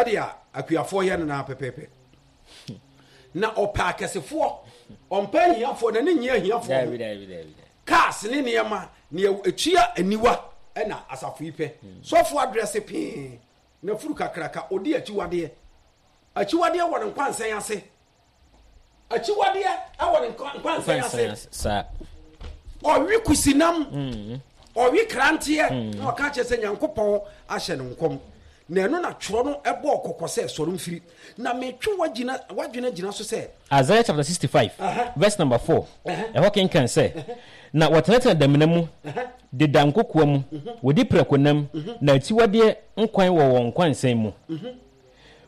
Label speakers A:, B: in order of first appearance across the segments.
A: Sɛdeɛ akuafoɔ yɛ no naa pɛpɛɛpɛ. Na ɔpɛ akɛsefoɔ, ɔmpɛ ahiafoɔ, n'ani nnye ahiafoɔ ho. Cars ne nneɛma, nea ɛtua aniwa na asafo yi pɛ. Sɔfo adrɛse pee, n'afuru kakraka, ɔdi akyiwadeɛ. Akyiwadeɛ wɔ ne nkwansɛn ase. Akyiwadeɛ wɔ ne nkwansɛn ase. Ɔwe kusinam, mm. ɔwe kranteɛ, mm. na ɔka kyerɛ sɛ Nyankopɔn ahyɛ no nkɔm. Na ɛno na twerɛ no ɛbɔɔ kɔkɔ sɛ sɔre mfiri. Na metwe w'adwene agyina so sɛ.
B: Isaiah chapter 65 verse number 4 ɛhɔ kenkan sɛ, Na wɔtenatena damena mu, deda nkokoa mu, mhm. wɔdi prakonam, mhm. na akyiwadeɛ nkwan wɔ wɔn nkwansɛn mu. Mhm.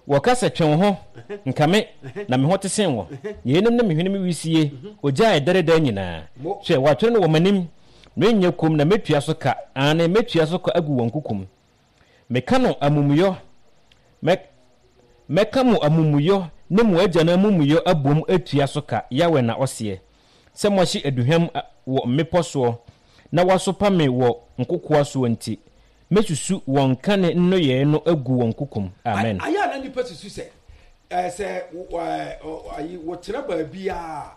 B: Wɔka sɛ, Twe wo ho, nka me, na me ho te sen wo. Yeinom ne me hwene mu wisie, ogya a ɛdɛre daa nyinaa. Hwɛ, wɔatwerɛ no wɔ m'anim, merenyɛ komm na mɛtua so ka, aane, mɛtua so ka agu wɔn kokom. Meka no amumuyɔ, mɛ, mɛka mo amumuyɔ ne mo agyanom amumuyɔ abom atua so ka, Yahweh na ɔseɛ, sɛ moahye aduhwam wɔ mmepɔ soɔ na wɔasopa me wɔ nkokoɔ soɔ nti. Mɛsusu wɔn kane nneyɔɛ no agu wɔn kokom. Amen.
A: Ayɛ a na nnipa susu sɛ, sɛ ayi wɔtena baabiara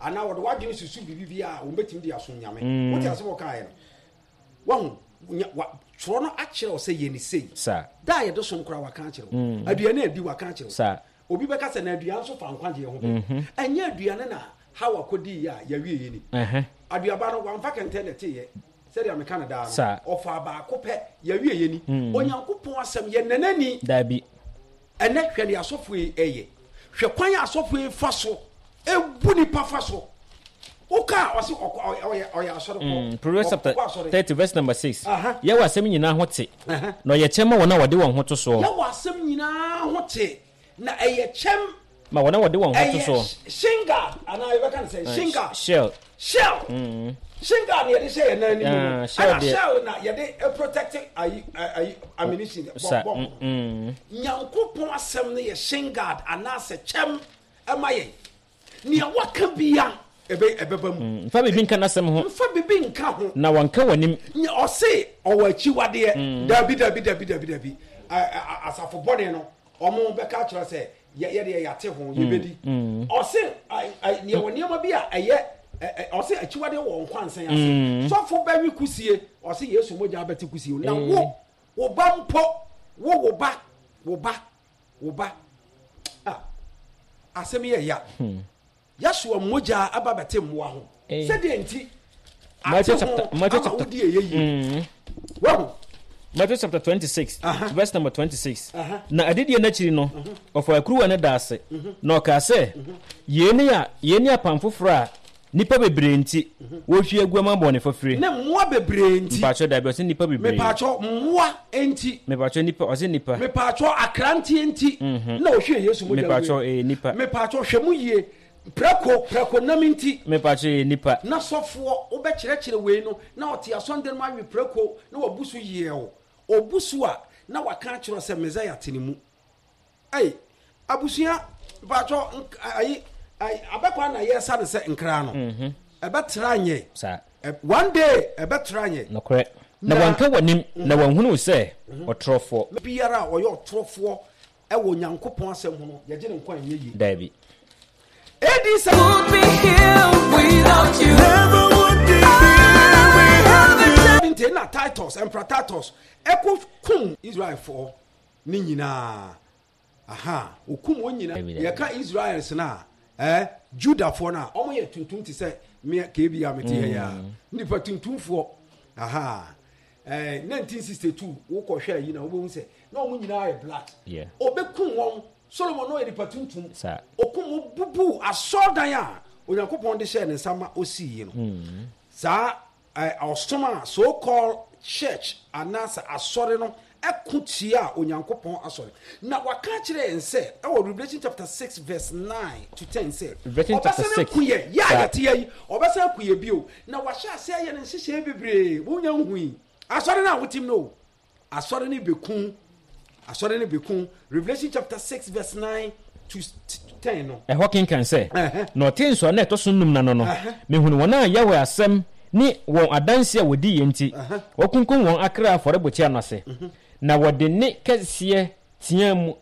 A: anaa wɔde w'adwene susu biribi biara a wɔbɛtumi de asom Nyame. Mm. Wote asɛm a wɔkaeɛ no? Wahu, twerɛ no akyerɛ wo sɛ yɛ ne sei.
B: Saa.
A: Da a yɛde som koraa waka akyerɛ wo. Mm. Aduane a di waka akyerɛ wo.
B: Saa.
A: Obi bɛka sɛ na aduane nso fa nkwagyeɛ ho bɛ. Mm-hmm. Ɛnyɛ aduane na Hawa kɔdiiɛ a yɛawieɛ ni. Aduaba no wamfa kɛntɛn na ɛteeɛ. Sɛdeɛ meka no daa no, ɔfaa baako pɛ, yɛawieɛ ni. Onyankopɔn asɛm, yɛ nanani.
B: Daabi.
A: Ɛnɛ, hwɛ deɛ asɔfoɔ yi ɛyɛ. Hwɛ kwan a asɔfoɔ yi fa so ɛbu nipa fa so. Woka a, ɔse ɔyɛ ɔyɛ asɔre kɔ.
B: Mm, Proverbs chapter 30 verse number 6. Yɛwɔ asɛm nyinaa ho te, na ɔyɛ kyɛm ma wɔn a wɔde wɔn ho to soɔ.
A: Yɛwɔ asɛm nyinaa ho te. Na ɛyɛ kyɛm.
B: Ma wɔn a wɔde wɔn ho to soɔ.
A: Ɛyɛ shin guard anaa yɛbɛka no sɛ shin guard.
B: Shell.
A: Shell. Shin guard na yɛde hyɛ yɛn nan anim no. Ɛna shell na yɛde protect ayi ayi ammunition bɔ bɔ. Nyankopɔn asɛm no yɛ shin guard anaasɛ kyɛm ɛma yɛn. Nea waka bia ɛbɛ ɛbɛba mu.
B: Mfa biribi nka n'asɛm ho.
A: Mfa biribi nka ho.
B: Na wanka w'anim.
A: Nea ɔse ɔwɔ akyiwadeɛ. Dabi dabi dabi dabi dabi. Asafo bɔne no Ɔmo bɛka akyerɛ sɛ yɛ yɛ deɛ yɛate ho yɛbɛdi. Ɔse neɛ wɔ nneɛma bi a ɛyɛ ɔse akyiwadeɛ wɔ nkwansɛn ase. Sɔfo bɛwe kusie ɔse Yesu mogya abɛte kusie na wo wo ba mpo wo wo ba wo ba wo ba ah asɛm yɛ ya. Yahshua mogya aba bɛte mmoa ho. Sɛdeɛ nti, ate ho ama wodi ɛyɛ yie. Mm. Wahu?
B: Matthew chapter 26, verse number 26. Na adidie no akyiri no, mhm. ɔfaa kuruwa no daa ase, mhm. na ɔkaa sɛ, mhm. yei ne a yei ne apam foforɔ a nnipa bebree nti wɔhwie agu ama bɔne fafire.
A: Ne mmoa bebree nti.
B: Mpakyɛ dabi ɔsɛ nnipa bebree.
A: Mepakyɛ mmoa nti.
B: Mepakyɛ nipa ɔsɛ nipa.
A: Mepakyɛ akranteɛ nti. Na ɔhwie Yesu mogya guiɛ.
B: Mepakyɛ ɛyɛ nipa.
A: Mepakyɛ hwɛ mu yie. Prɛko, prɛko nam nti.
B: Mepakyɛ ɛyɛ nipa.
A: Na sɔfoɔ wobɛkyerɛkyerɛ wei no na ɔte asɔndan mu awe prɛko na wabu so yieɛw. Ɔbu so a na waka akyerɛ wo sɛ Messiah te ne mu. Ei, abusua, mepakyɛ ayi, abɛkwan na yɛsa no sɛ nkra no. Mhm. Ɛbɛtra nyɛ.
B: Saa.
A: One day ɛbɛtra nyɛ.
B: Nokorɛ. Na wɔnka w'anim, na wɔnhunu wo sɛ ɔtorɔfoɔ.
A: Biara a ɔyɛ ɔtorɔfoɔ wɔ Onyankopɔn asɛm ho no, yɛgye ne nkwa ɛnyɛ yie.
B: Daabi.
A: AD sɛ.
C: Would be here without you. Never would be here without you.
A: Nti na Titus, Emperor Titus, ɛkɔ kum Israelfoɔ ne nyinaa. Aha, okum wɔn nyinaa. Yɛka Israels no a, eh, Judafoɔ no a, wɔn yɛ tuntum te sɛ me KB a mete ha yi a. Mm. Nipa tuntumfoɔ. Aha. Eh, 1962 wokɔhwɛ yi na wobɛhu sɛ na wɔn nyinaa yɛ black.
B: Yeah.
A: Obekum wɔn. Solomon no yɛ nipa tuntum.
B: Sa.
A: Okum wɔn bubu asɔrdan a Onyankopɔn de hyɛɛ ne nsa ma osii yi no.
B: Mm.
A: Saa Ɔsom a so called church anaasɛ asɔre no ko tiaa Onyankopɔn asɔre. Na waka akyerɛ yɛn sɛ ɛwɔ Revelation chapter 6 verse 9 to 10 sɛ
B: Revelation chapter
A: ɔbɛsan
B: 6
A: aku yɛn, yɛ a
B: saa.
A: yɛte ha yi, ɔbɛsan aku yɛn bio. Na wahyɛ ase ayɛ ne nhyehyɛe bebree, wonya nhui. Asɔre no a wotim no o, Asɔre no bɛku, asɔre no bɛku, Revelation chapter 6 verse 9 to 10 no.
B: Ɛhɔ kenkan sɛ, Na ɔtee nsɔano a ɛtɔ so nnum no ano no, mehunuu wɔn a Yahweh asɛm ne wɔn adanse a wɔdiiɛ nti, wɔakunkum wɔn akra afɔrebukyia no ase. Na wɔde nne kɛseɛ teaam.